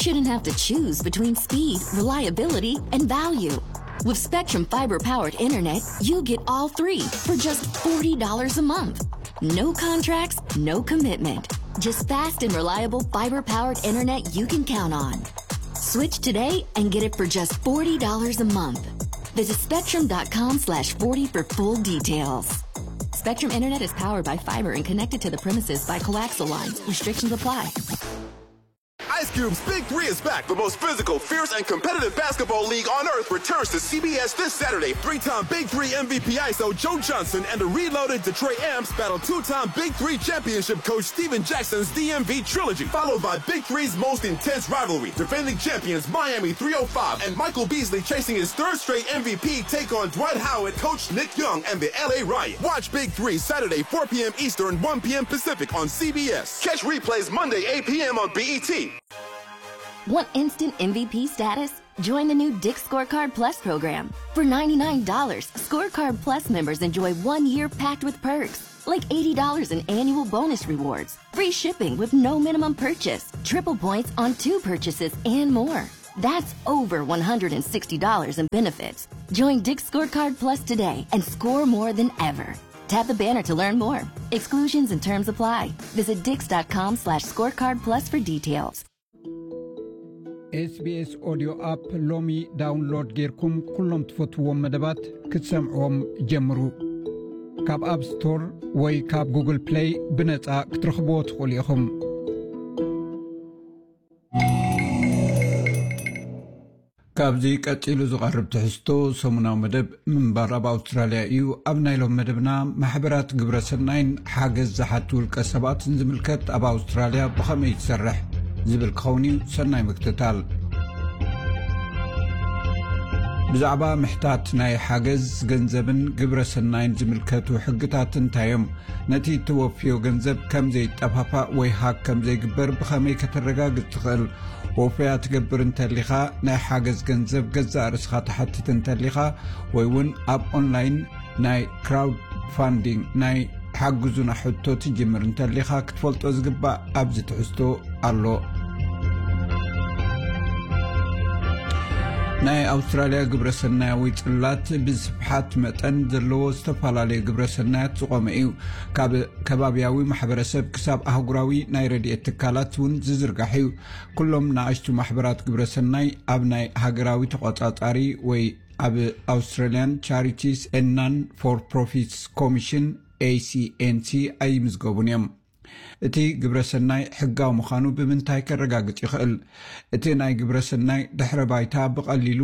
shouldn't have to choose between speed, reliability, and value. With Spectrum fiber powered internet, you get all three for just forty dollars a month. No contracts, no commitment. Just fast and reliable fiber powered internet you can count on. Switch today and get it for just forty dollars a month. Visit spectrum dot com slash forty for full details. Spectrum Internet is powered by fiber and connected to the premises by coaxial lines. Restrictions apply. Ice Cube's Big Three is back. The most physical, fierce, and competitive basketball league on earth returns to C B S this Saturday. Three time Big Three M V P ISO Joe Johnson and the reloaded Detroit Amps battle two time Big Three championship coach Stephen Jackson's D M V trilogy, followed by Big Three's most intense rivalry. Defending champions Miami three oh five and Michael Beasley, chasing his third straight M V P, take on Dwight Howard, coach Nick Young, and the L A Riot. Watch Big Three Saturday, four p.m. Eastern, one p.m. Pacific on C B S. Catch replays Monday, eight p.m. on B E T. Want instant M V P status? Join the new Dick Scorecard Plus program. For ninety-nine dollars, Scorecard Plus members enjoy one year packed with perks, like eighty dollars in annual bonus rewards, free shipping with no minimum purchase, triple points on two purchases, and more. That's over one hundred sixty dollars in benefits. Join Dick Scorecard Plus today and score more than ever. Tap the banner to learn more. Exclusions and terms apply. Visit dix dot com slash scorecard plus for details. SBS ኦድዮ ኣፕ ሎሚ ዳውንሎድ ጌርኩም ኩሎም ትፈትዎም መደባት ክትሰምዕዎም ጀምሩ። ካብ ኣፕ ስቶር ወይ ካብ ጉግል ፕለይ ብነጻ ክትረኽብዎ ትኽእሉ ኢኹም። ካብዚ ቀጺሉ ዝቐርብ ትሕዝቶ ሰሙናዊ መደብ ምንባር ኣብ ኣውስትራልያ እዩ። ኣብ ናይ ሎም መደብና ማሕበራት ግብረ ሰናይን ሓገዝ ዝሓቱ ውልቀ ሰባትን ዝምልከት ኣብ ኣውስትራልያ ብኸመይ ትሰርሕ ዝብል ክኸውን እዩ። ሰናይ ምክትታል። ብዛዕባ ምሕታት ናይ ሓገዝ ገንዘብን ግብረ ሰናይን ዝምልከቱ ሕግታት እንታይ እዮም? ነቲ እትወፍዮ ገንዘብ ከም ዘይጠፋፋእ ወይ ሃክ ከም ዘይግበር ብኸመይ ከተረጋግጽ ትኽእል? ወፈያ ትገብር እንተሊኻ፣ ናይ ሓገዝ ገንዘብ ገዛእ ርእስኻ ትሓትት እንተሊኻ፣ ወይ እውን ኣብ ኦንላይን ናይ ክራውድ ፋንዲንግ ናይ ሓግዙና ሕቶ ትጅምር እንተሊኻ ክትፈልጦ ዝግባእ ኣብዚ ትሕዝቶ ኣሎ። ናይ ኣውስትራልያ ግብረ ሰናያዊ ጽላት ብስፍሓት መጠን ዘለዎ ዝተፈላለየ ግብረ ሰናያት ዝቖመ እዩ። ካብ ከባብያዊ ማሕበረሰብ ክሳብ ኣህጉራዊ ናይ ረድኤት ትካላት እውን ዝዝርጋሕ እዩ። ኩሎም ንኣሽቱ ማሕበራት ግብረ ሰናይ ኣብ ናይ ሃገራዊ ተቖጻጻሪ ወይ ኣብ ኣውስትራልያን ቻሪቲስ ኤንድ ናን ፎር ፕሮፊትስ ኮሚሽን፣ ኤሲኤንሲ፣ ኣይምዝገቡን እዮም። እቲ ግብረ ሰናይ ሕጋዊ ምዃኑ ብምንታይ ከረጋግጽ ይኽእል? እቲ ናይ ግብረ ሰናይ ድሕረ ባይታ ብቐሊሉ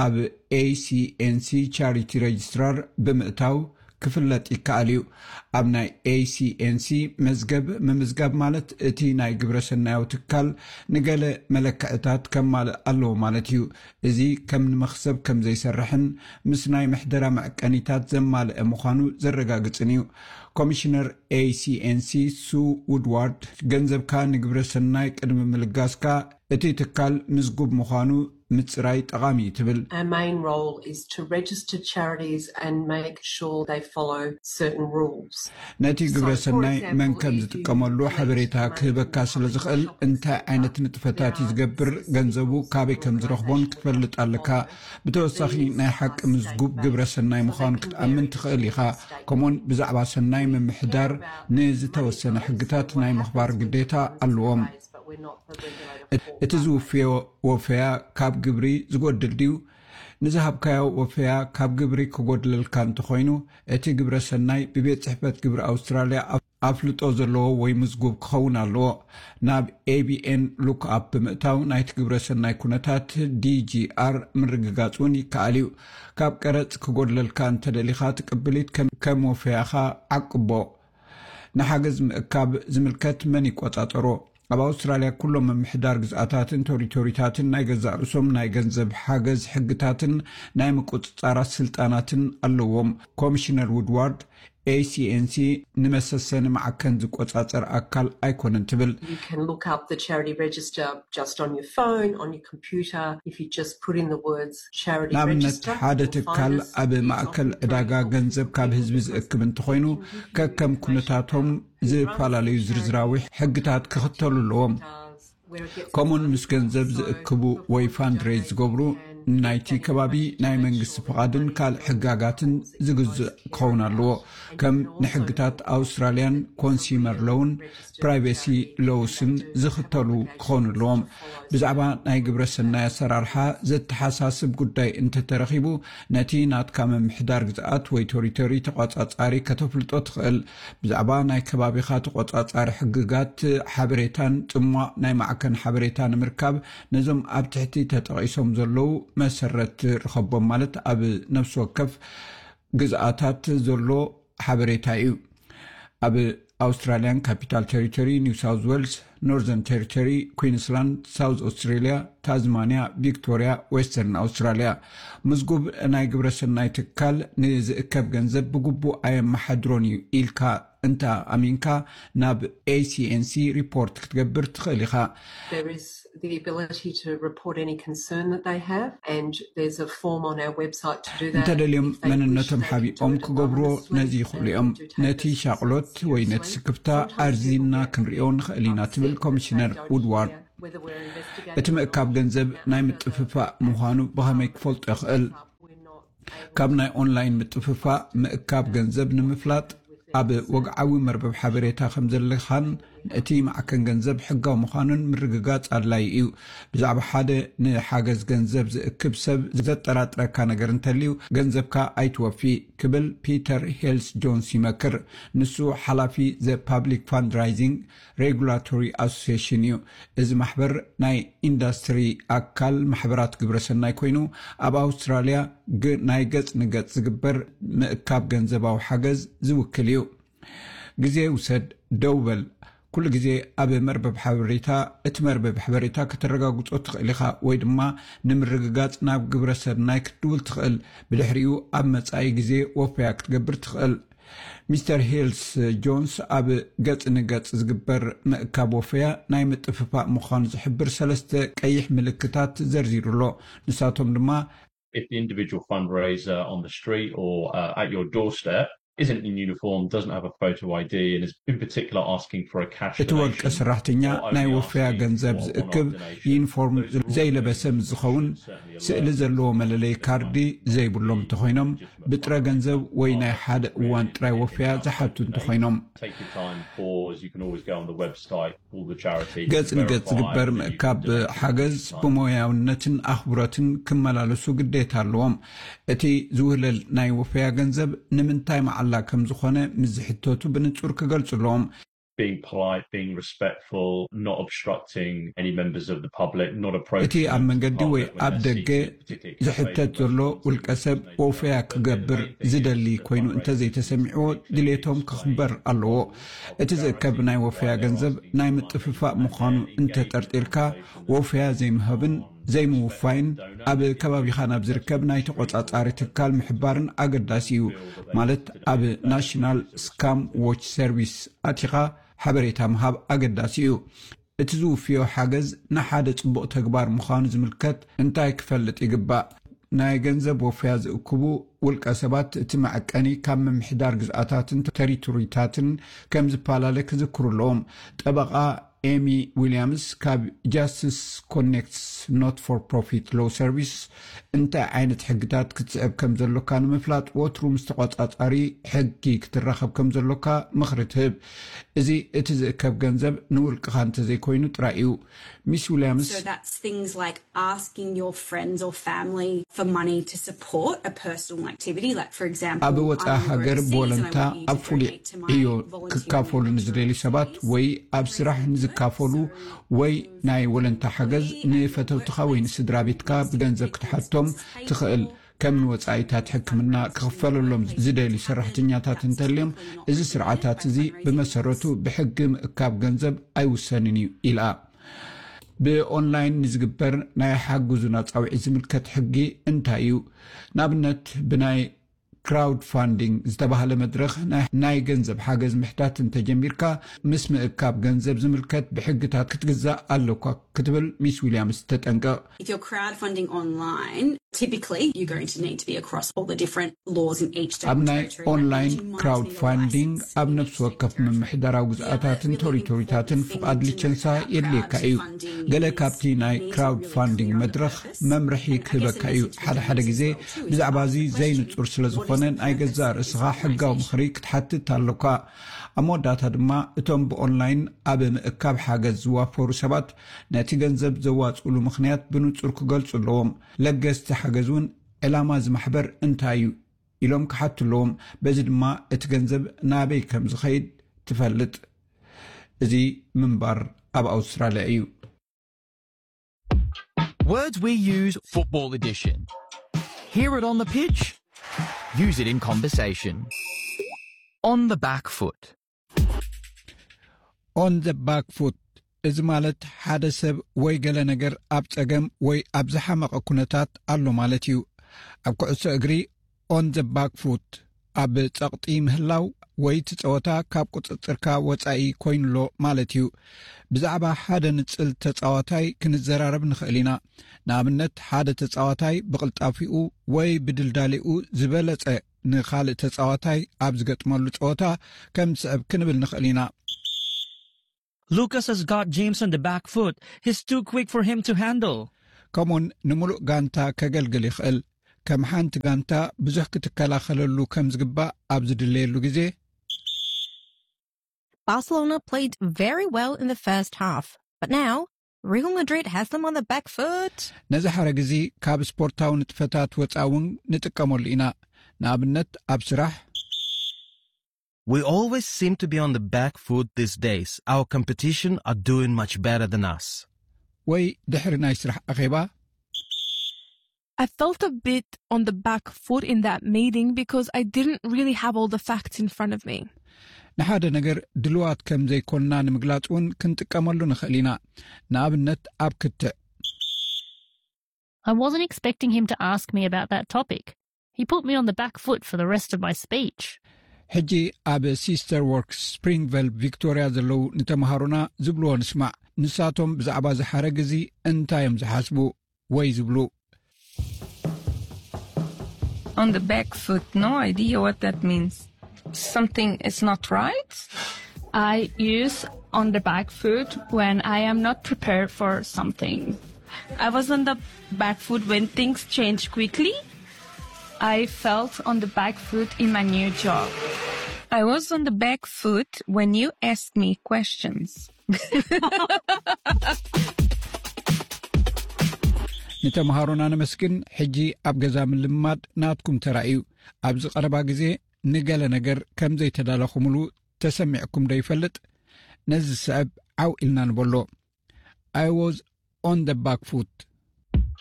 ኣብ ኤሲኤንሲ ቻሪቲ ሬጅስትራር ብምእታው ክፍለጥ ይከኣል እዩ። ኣብ ናይ ኤሲኤንሲ መዝገብ ምምዝጋብ ማለት እቲ ናይ ግብረ ሰናያዊ ትካል ንገለ መለክዕታት ከማልእ ኣለዎ ማለት እዩ። እዚ ከም ንመኽሰብ ከም ዘይሰርሕን ምስ ናይ ምሕደራ መዕቀኒታት ዘማልአ ምዃኑ ዘረጋግጽን እዩ። ኮሚሽነር ኤሲኤንሲ ሱ ውድዋርድ፣ ገንዘብካ ንግብረ ሰናይ ቅድሚ ምልጋስካ እቲ ትካል ምዝጉብ ምዃኑ ምጽራይ ጠቓሚ እዩ ትብል። Our main role is to register charities and make sure they follow certain rules. ነቲ ግብረ ሰናይ መን ከም ዝጥቀመሉ ሓበሬታ ክህበካ ስለ ዝኽእል፣ እንታይ ዓይነት ንጥፈታት እዩ ዝገብር፣ ገንዘቡ ካበይ ከም ዝረኽቦን ክትፈልጥ ኣለካ። ብተወሳኺ ናይ ሓቂ ምዝጉብ ግብረ ሰናይ ምዃኑ ክትኣምን ትኽእል ኢኻ። ከምኡውን ብዛዕባ ሰናይ ምምሕዳር ንዝተወሰነ ሕግታት ናይ ምኽባር ግዴታ ኣለዎም። እቲ ዝውፍዮ ወፈያ ካብ ግብሪ ዝጎድል ድዩ? ንዝሃብካዮ ወፈያ ካብ ግብሪ ክጎድለልካ እንተኾይኑ፣ እቲ ግብረ ሰናይ ብቤት ጽሕፈት ግብሪ ኣውስትራልያ ኣፍልጦ ዘለዎ ወይ ምዝጉብ ክኸውን ኣለዎ። ናብ ኤቢኤን ሉክኣፕ ብምእታው ናይቲ ግብረ ሰናይ ኩነታት ዲጂኣር ምርግጋጽ እውን ይከኣል እዩ። ካብ ቀረጽ ክጎድለልካ እንተደሊኻ፣ ትቅብሊት ከም ወፈያኻ ዓቅቦ። ንሓገዝ ምእካብ ዝምልከት መን ይቆጻጸሮ? ኣብ ኣውስትራልያ ኩሎም ምምሕዳር ግዝኣታትን ቶሪቶሪታትን ናይ ገዛእ ርእሶም ናይ ገንዘብ ሓገዝ ሕግታትን ናይ ምቁጽጻራት ስልጣናትን ኣለዎም። ኮሚሽነር ውድዋርድ፣ ኤሲኤንሲ ንመሰሰኒ ማዕከን ዝቆጻጸር ኣካል ኣይኮነን ትብል። You can look up the charity register just on your phone, on your computer. If you just put in the words charity ንኣብነት register, ሓደ you'll ትካል find us. ኣብ ማእከል ዕዳጋ ገንዘብ ካብ ህዝቢ ዝእክብ እንተኾይኑ፣ ከከም ኩነታቶም ዝተፈላለዩ ዝርዝራዊ ሕግታት ክኽተሉ ኣለዎም። ከምኡን ምስ ገንዘብ ዝእክቡ ወይ ፋንድሬዝ ዝገብሩ ናይቲ ከባቢ ናይ መንግስቲ ፍቓድን ካልእ ሕጋጋትን ዝግዝእ ክኸውን ኣለዎ። ከም ንሕግታት ኣውስትራልያን ኮንሲመር ሎውን ፕራይቬሲ ሎውስን ዝኽተሉ ክኾኑ ኣለዎም። ብዛዕባ ናይ ግብረ ሰናይ ኣሰራርሓ ዘተሓሳስብ ጉዳይ እንተተረኺቡ፣ ነቲ ናትካ ምምሕዳር ግዝኣት ወይ ቶሪቶሪ ተቋጻጻሪ ከተፍልጦ ትኽእል። ብዛዕባ ናይ ከባቢኻ ተቋጻጻሪ ሕግጋት፣ ሓበሬታን ጽሟቕ ናይ ማዕከን ሓበሬታ ንምርካብ፣ ነዞም ኣብ ትሕቲ ተጠቒሶም ዘለዉ መሰረት ርኸቦም፣ ማለት ኣብ ነፍሲ ወከፍ ግዝኣታት ዘሎ ሓበሬታ እዩ። ኣብ ኣውስትራልያን ካፒታል ቴሪቶሪ፣ ኒው ሳውዝ ዌልስ፣ ኖርዘርን ቴሪቶሪ፣ ኩዊንስላንድ፣ ሳውዝ ኣውስትሬልያ፣ ታዝማንያ፣ ቪክቶርያ፣ ዌስተርን ኣውስትራልያ፣ ምዝጉብ ናይ ግብረ ሰናይ ትካል ንዝእከብ ገንዘብ ብግቡእ ኣየመሓድሮን እዩ ኢልካ እንተ ኣሚንካ፣ ናብ ኤሲኤንሲ ሪፖርት ክትገብር ትኽእል ኢኻ። There is the ability to report any concern that they have, and there's a form on our website to do that. እንተደልዮም መንነቶም ሓቢኦም ክገብርዎ ነዚ ይኽእሉ እዮም። ነቲ ሻቕሎት ወይ ነቲ ስክፍታ ኣርዚንና ክንሪኦ ንኽእል ኢና፣ ትብል ኮሚሽነር ውድዋርድ። እቲ ምእካብ ገንዘብ ናይ ምጥፍፋእ ምዃኑ ብኸመይ ክፈልጦ ይኽእል? ካብ ናይ ኦንላይን ምጥፍፋእ ምእካብ ገንዘብ ንምፍላጥ፣ ኣብ ወግዓዊ መርበብ ሓበሬታ ከም ዘለኻን እቲ ማዕከን ገንዘብ ሕጋዊ ምዃኑን ምርግጋጽ ኣድላዪ እዩ። ብዛዕባ ሓደ ንሓገዝ ገንዘብ ዝእክብ ሰብ ዘጠራጥረካ ነገር እንተልዩ፣ ገንዘብካ ኣይትወፊ፣ ክብል ፒተር ሄልስ ጆንስ ይመክር። ንሱ ሓላፊ ዘ ፓብሊክ ፋንድራይዚንግ ሬጉላቶሪ ኣሶሲሽን እዩ። እዚ ማሕበር ናይ ኢንዳስትሪ ኣካል ማሕበራት ግብረ ሰናይ ኮይኑ፣ ኣብ ኣውስትራልያ ግ- ናይ ገጽ ንገጽ ዝግበር ምእካብ ገንዘባዊ ሓገዝ ዝውክል እዩ። ግዜ ውሰድ፣ ደው በል። ኩሉ ግዜ ኣብ መርበብ ሓበሬታ፣ እቲ መርበብ ሓበሬታ ከተረጋግጾ ትኽእል ኢኻ፣ ወይ ድማ ንምርግጋጽ ናብ ግብረ ሰናይ ክትድውል ትኽእል። ብድሕሪኡ ኣብ መጻኢ ግዜ ወፈያ ክትገብር ትኽእል። ሚስተር ሄልስ ጆንስ ኣብ ገጽ ንገጽ ዝግበር ምእካብ ወፈያ ናይ ምጥፍፋእ ምዃኑ ዝሕብር ሰለስተ ቀይሕ ምልክታት ዘርዚሩ ኣሎ። ንሳቶም ድማ If the individual fundraiser on the street or uh, at your doorstep isn't in uniform, doesn't have a photo I D, and is in particular asking for a cash እቲ ወልቀ donation, ሰራሕተኛ or only ናይ ወፈያ asking ገንዘብ for a ዝእክብ one-off donation, ዩኒፎርም those rules ዘይለበሰ should ምስ ዝኸውን፣ certainly ስእሊ alert ዘለዎ people መለለይ that ካርዲ it's ዘይብሎም እንተኾይኖም፣ ብጥረ ገንዘብ ወይ ናይ ሓደ እዋን ጥራይ ወፈያ ዝሓቱ እንተኾይኖም። Take your time, pause. You can always go on the website, call the charity, ገጽ ንገጽ verify ዝግበር that you've ምእካብ donated ሓገዝ this time. ብሞያውነትን ኣኽብሮትን ክመላለሱ ግዴታ ኣለዎም። እቲ ዝውህለል ናይ ወፈያ ገንዘብ ንምንታይ መዓላ ከም ዝኾነ ምስ ዝሕተቱ ብንጹር ክገልጹ ኣለዎም። Being polite, being respectful, not obstructing any members of the public, not approaching እቲ ኣብ them to መንገዲ ወይ park when ኣብ they're ደገ seated, particularly if it's ዝሕተት ዘሎ ውልቀ ሰብ ወፈያ ክገብር ዝደሊ ኮይኑ እንተዘይተሰሚዕዎ፣ ድሌቶም ክኽበር ኣለዎ። እቲ ዝእከብ ናይ ወፈያ ገንዘብ ናይ ምጥፍፋእ ምዃኑ እንተጠርጢርካ፣ ወፈያ ዘይምሃብን ዘይምውፋይን ኣብ ከባቢኻ ናብ ዝርከብ ናይ ተቖጻጻሪ ትካል ምሕባርን ኣገዳሲ እዩ። ማለት ኣብ ናሽናል ስካም ዎች ሰርቪስ ኣቲኻ ሓበሬታ ምሃብ ኣገዳሲ እዩ። እቲ ዝውፍዮ ሓገዝ ንሓደ ጽቡቕ ተግባር ምዃኑ ዝምልከት እንታይ ክፈልጥ ይግባእ? ናይ ገንዘብ ወፈያ ዝእክቡ ውልቀ ሰባት እቲ መዐቀኒ ካብ ምምሕዳር ግዝኣታትን ተሪቶሪታትን ከም ዝፈላለ ክዝክሩ ኣለዎም። ጠበቓ ኤሚ ዊልያምስ ካብ ጃስትስ ኮኔክትስ ኖት ፎር ፕሮፊት ሎው ሰርቪስ እንታይ ዓይነት ሕግታት ክትስዕብ ከም ዘሎካ ንምፍላጥ ወትሩ ምስ ተቆጻጻሪ ሕጊ ክትራኸብ ከም ዘሎካ ምኽሪ ትህብ። እዚ እቲ ዝእከብ ገንዘብ ንውልቅኻ እንተዘይኮይኑ ጥራይ እዩ። ሚስ ዊልያምስ So that's things like asking your friends or family for money to support a personal activity, like for example, ኣብ ወፃኢ ሃገር ብወለንታ ኣብ ፍሉይ ዕዮ ክካፈሉ ንዝደልዩ ሰባት ወይ ኣብ ስራሕ ንዝካፈሉ ወይ ናይ ወለንታ ሓገዝ ንፈተውትኻ ወይ ንስድራ ቤትካ ብገንዘብ ክትሓቶም ትኽእል። ከም ንወፃኢታት ሕክምና ክኽፈለሎም ዝደልዩ ሰራሕተኛታት እንተልዮም፣ እዚ ስርዓታት እዚ ብመሰረቱ ብሕጊ ምእካብ ገንዘብ ኣይውሰንን እዩ ኢላ። ብኦንላይን ንዝግበር ናይ ሓግዙና ጻውዒት ዝምልከት ሕጊ እንታይ እዩ? ንኣብነት ብናይ ክራውድ ፋንዲንግ ዝተባህለ መድረኽ ናይ ገንዘብ ሓገዝ ምሕታት እንተጀሚርካ፣ ምስ ምእካብ ገንዘብ ዝምልከት ብሕግታት ክትግዛእ ኣለኳ ክትብል ሚስ ዊልያምስ ተጠንቀቕ። If you're crowdfunding online, typically you're going to need to be across all the different laws in each state. ኣብ ናይ ኦንላይን ክራውድ ፋንዲንግ ኣብ ነፍሲ ወከፍ ምምሕዳራዊ ግዝኣታትን ቶሪቶሪታትን ፍቓድ ሊቸንሳ የድልየካ እዩ። ገለ ካብቲ ናይ ክራውድ ፋንዲንግ መድረኽ መምርሒ ክህበካ እዩ። ሓደ ሓደ ግዜ ብዛዕባ እዚ ዘይንጹር ስለ ዝኾነ ናይ ገዛእ ርእስኻ ሕጋዊ ምኽሪ ክትሓትት ኣለካ። ኣብ መወዳእታ ድማ እቶም ብኦንላይን ኣብ ምእካብ ሓገዝ ዝዋፈሩ ሰባት ነቲ ገንዘብ ዘዋጽኡሉ ምኽንያት ብንጹር ክገልጹ ኣለዎም። ለገስቲ ሓገዝ እውን ዕላማ እዚ ማሕበር እንታይ እዩ ኢሎም ክሓቱ ኣለዎም። በዚ ድማ እቲ ገንዘብ ናበይ ከም ዝኸይድ ትፈልጥ። እዚ ምንባር ኣብ ኣውስትራልያ እዩ። Words we use, football edition. Hear it on the pitch, use it in conversation. On the back foot. On the back foot እዚ ማለት ሓደ ሰብ ወይ ገለ ነገር ኣብ ጸገም ወይ ኣብ ዝሓመቐ ኩነታት ኣሎ ማለት እዩ። ኣብ ኩዕሶ እግሪ on the back foot ኣብ ጸቕጢ ምህላው ወይ እቲ ጸወታ ካብ ቁጽጽርካ ወጻኢ ኮይኑሎ ማለት እዩ። ብዛዕባ ሓደ ንጽል ተጻዋታይ ክንዘራረብ ንኽእል ኢና። ንኣብነት ሓደ ተጻዋታይ ብቕልጣፊኡ ወይ ብድልዳሌኡ ዝበለጸ ንኻልእ ተጻዋታይ ኣብ ዝገጥመሉ ጸወታ ከም ዝስዕብ ክንብል ንኽእል ኢና። Lucas has got James on the back foot. He's too quick for him to handle. ከምኡውን ንምሉእ ጋንታ ከገልግል ይኽእል። ከም ሓንቲ ጋንታ ብዙሕ ክትከላኸለሉ ከም ዝግባእ ኣብ ዝድለየሉ ግዜ። Barcelona played very well in the first half, but now Real Madrid has them on the back foot. ነዚ ሓረግ እዚ ካብ ስፖርታዊ ንጥፈታት ወፃ እውን ንጥቀመሉ ኢና። ንኣብነት ኣብ ስራሕ We always seem to be on the back foot these days. Our competition are doing much better than us. ወይ ድሕሪ ናይ ስራሕ ኣኼባ I felt a bit on the back foot in that meeting because I didn't really have all the facts in front of me. ንሓደ ነገር ድልዋት ከም ዘይኮንና ንምግላጽ እውን ክንጥቀመሉ ንኽእል ኢና። ንኣብነት ኣብ ክትዕ I wasn't expecting him to ask me about that topic. He put me on the back foot for the rest of my speech. ሕጂ ኣብ ሲስተር ወርክስ ስፕሪንግቨል ቪክቶሪያ ዘለዉ ንተምሃሮና ዝብልዎ ንስማዕ። ንሳቶም ብዛዕባ እዚ ሓረግ እዚ እንታይ እዮም ዝሓስቡ ወይ ዝብሉ? On the back foot, no idea what that means. Something is not right. I use on the back foot when I am not prepared for something. I was on the back foot when things change quickly. I felt on the back foot in my new job. I was on the back foot when you asked me questions. ንተምሃሮና ነመስግን። ሕጂ ኣብ ገዛ ምልማድ ናትኩም ተራ እዩ። ኣብዚ ቀረባ ግዜ ንገለ ነገር ከም ዘይተዳለኹምሉ ተሰሚዕኩም ዶ ይፈልጥ? ነዚ ዝስዕብ ዓው ኢልና ንበሎ። I was on the back foot.